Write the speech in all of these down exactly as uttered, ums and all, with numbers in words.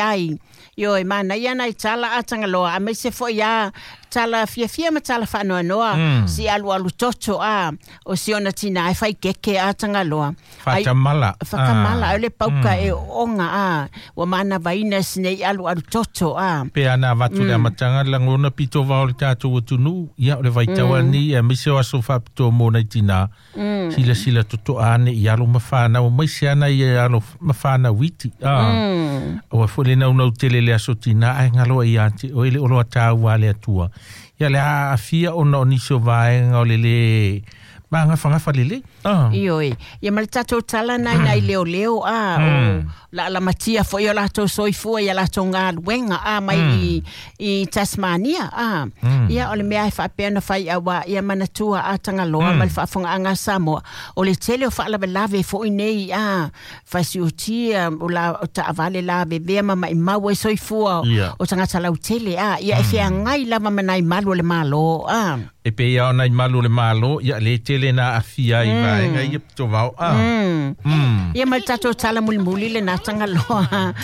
Ai, ioe, manaia nai tala a Tagaloa, aemaise foi a tala fiafia ma tala faanoanoa, Mm. si alualu toto a, o si ona tinā e faikeke a Tagaloa. Ai, Fatamala. Whakamala, Ah. o le pauka e onga a, ua manavaina sinei alualu toto a. Pe ana avatu le amataga le lagona pito vao le tatou atunuu ia o le vaitau ani aemaise o aso faapitoa mo nai tinā silasila totoa ane i alo ma fanau maise ana ia alo ma fanau iti a aua foi le naunau tele le aso tinā ae galoa ia te oe le oloa tāua a le Atua ia le aafia ona o nisi o vaega o le lē magafagafa lelei a Ioe, ia ma le tatou tala nai nai leo leo a, o la lamatia foi o latou soifua ia latou galuega a mai i, i Tasmania a. Ia o le mea e faapea ona fai auā ia manatua a Tagaloa ma le faafogaaga a Samoa. O le tele o faalavelave foi nei a, fasiutia o la o taavale lavevea ma maimau ai soifua Ia. o tagata lautele a, ia e feagai lava ma nai malu o le Malo a. E pe ia ona i malu o le Malo ia le tele na afia i vaega ia pito vao a. Mm. Ia ma le tatou tala mulimuli le na Tagaloa.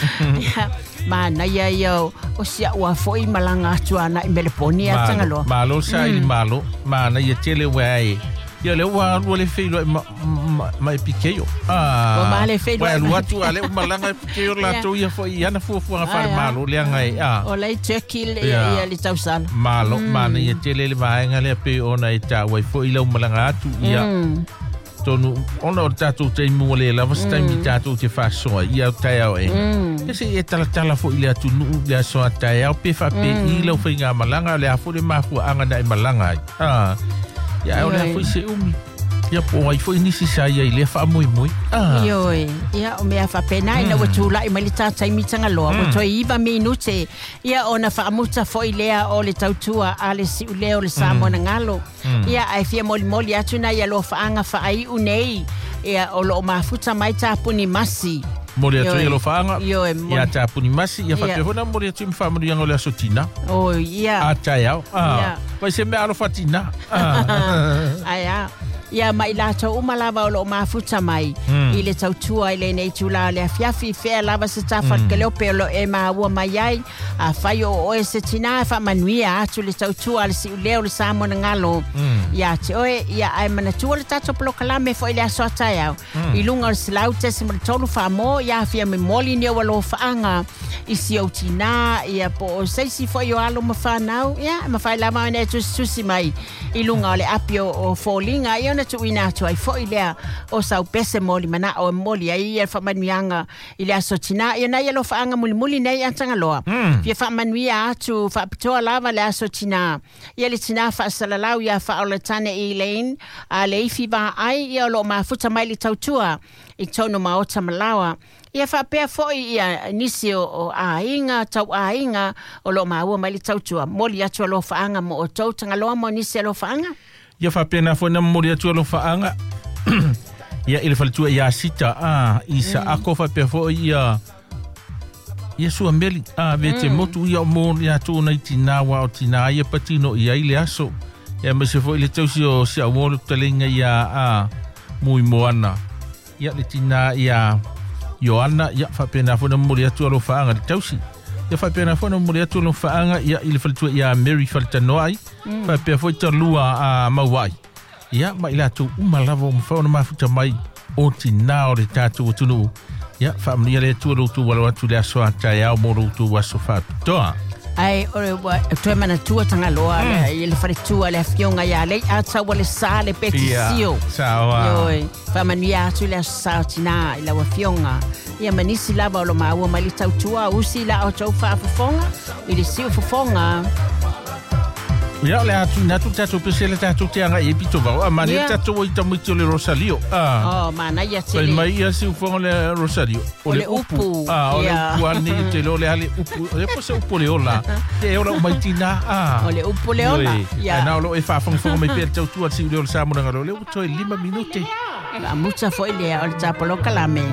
Ia, manaia ia o, o sia'u a foi malaga atu ana i Meleponi a Malo, Tagaloa. malo sa i malo, mana ia tele ua e. Ia le ua alu le feilo ma ma, ma e pikeio. Ah. Ua ma le feiloai Ua alu ma- atu a le malaga e pikeio latou ia foi ia na fuafuaga Ai, ah. faale-malo leaga e a. O lai Turkey le, Ia. ia le tausala. Malo, mana ia tele le vaega lea pe ona e tāua ai foi lau malaga atu ia. Tonu, ona o le tatou taimi ua le lava se taimi tatou te faasoa ia o taeao e. Ia se e talatala foi le atunuu le aso a taeao pe faapei lau faigamalaga o le a foi le mafuaaga na e malaga ai. Ah. Ia o le a Ioe. foi se umi. Ia po ai foi nisi sa ia i lea faamoemoe. Ah. Ioe, ia o mea faapena ina ua tula'i mai le tataimi Tagaloa, ua toe iva minute, ia ona faamuta foi lea o le tautua a le si'ulea o le Samoa na galo. Ia ae fia molimoli atu nai alofaaga faai'u nei, ia o loo mafuta mai tapuni masi. Moli atu Ioe. i alofaaga. Ioe, moli. Ia tapuni masi ia faapea Ia. foi na moli atu i mafaamanuiaga o le aso tinā. O ia. A taeao. Ah. Ia. Vai se mea alofa tinā. Ah. Ai a. Ia mai latou uma lava o loo mafuta mai i le tautua i lenei itulā o le afiafi fea lava se tafa mm. kaleope o loo e maua mai ai a fai o oe se tinā e faamanuia atu le tautua a le si'ulea o le Samoa na galo ia te oe ia ae manatua le tatou polokalame foi le aso a taeao i luga o le selau tesi ma le tolu faamo ia afia momoli ni ou alofaaga i si ou tinā ia po o seisi foi o alo ma fanau ia e mafai lava ona e tusitusi mai i luga o le api o, o foliga ia ona tuuina atu ai foi lea o sau pese moli mana'o e moli ai ia le faamanuiaga i le aso tinā ia nai alofaaga mulimuli nei a Tagaloa fia faamanuia atu faapitoa lava le aso tinā ia le tinā faasalalau ia faaolatane Elaine a le ifi vaai ia o loo mafuta mai le tautua i tonu maota malaoa ia faapea foi ia nisi o, o aiga tau aiga o loo maua mai le tautua moli atu alofaaga mo outou Tagaloa mo nisi alofaaga. Ia faapena foi na momoli atu alofaaga ia i le faletua ia Sita a i Saako faapea foi ia ia Suameli a vete motu ia o mo ia atu nai tinā wa o tinā ia patino i ai le aso. Ia aemaise foi le tausi o si au le taleiga ia a Mui Moana. Ia le tinā ia Ioana ia faapena foi na momoli atu alofaaga le tausi. Ia faapena foi na momoli atu alofaaga ia i le faletua ia Mary Faletanoai faapea foi talua a Mauai. Ia ma i latou uma lava o mafai ona mafuta mai o tinā o le tatou atunuu. Ia faamanuia le Atua lo outou alo atu le aso a taeao mo lo outou aso faapitoa. Ai o le ua toe manatua Tagaloa le i le faletua le afioga ia lei a taua le sa le petisio. Saoa. Ioe, faamanuia atu le aso sa o tinā i lau afioga. Ia manisi lava o lo maua mai le tautua usi la o tou faafofoga i le siufofoga. Ia o le atu ina atu tatou pese le tatou te aga i e pito vao. A mani Ia. tatou i tamaiti o le Rosalio. Ah. O manaia Fai tele. mai ia siufoga le Rosalio. O O le le upu. upu. Ah, o le Ia. upu ane i te leo le ale upu. O le po se upu o le ola. Te ola umai tinā. Ah. O le upu le ola. Ioe. Ia. Ai na o loo e faafogafoga mai pea le tautua a le siuleo o le Samoa na galo. O lea ua toe lima minute. Faamuta foi lea o le tapolokalame.